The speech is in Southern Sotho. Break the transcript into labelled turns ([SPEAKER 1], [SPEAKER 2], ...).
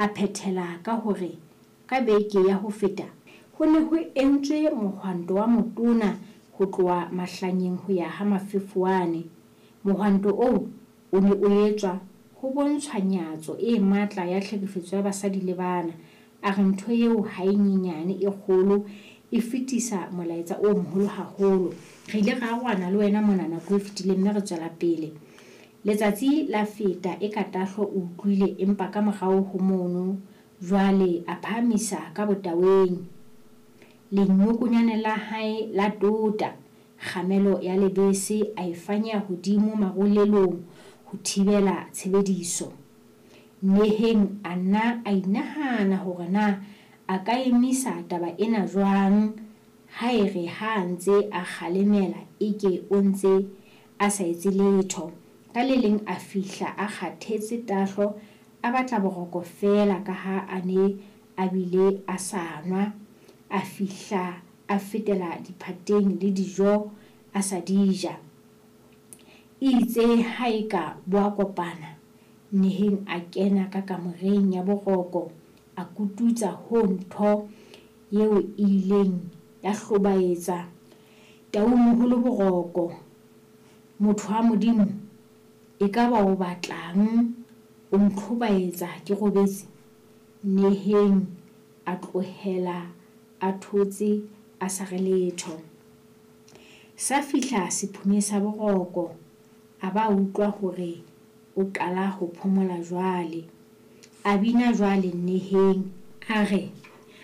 [SPEAKER 1] A phethela ka hore ka beke ya ho feta ho ne ho entswe mohwanto wa motona ho tloha Mahlanyeng ho ya ha Mafefowane. Mohwanto oo o ne o etswa ho bontshwa nyatso e matla ya tlhekefetso ya basadi le bana. A re ntho eo ha e nyenyane e kgolo e fetisa molaetsa o moholo haholo. Re ile ra arohana le wena mona nako e fetileng mme re tswela pele. Letsatsi la feta eka Tahlo o utlwile empa ka morao ho mono jwale a phahamisa ka botaweng. Lenyokonyane la hae la tota, kgamelo ya lebese a e fanyeha hodimo marulelong ho thibela tshebediso. Neheng a nna a inahana hore na a ka emisa taba ena jwang ha e re ha a ntse a kgalemela eke o ntse a sa etse letho. Ka le leng a fihla a kgathetse Tahlo a batla boroko feela ka ha a ne a bile a sa nwa. A fihla a fetela diphateng le dijo a sa di ja. Eitse ha eka bo a kopana, Neheng a kena ka kamoreng ya boroko a kututsa hoo ntho eo e ileng ya hlobaetsa Taumoholo boroko. Motho wa Modimo, ekaba o batlang o ntlhobaetsa ke robetse? Neheng a tlohela a thotse a sa re letho. Sa fihla sephume sa boroko, a ba utlwa hore o qala ho phomola jwale. A bina jwale Neheng a re.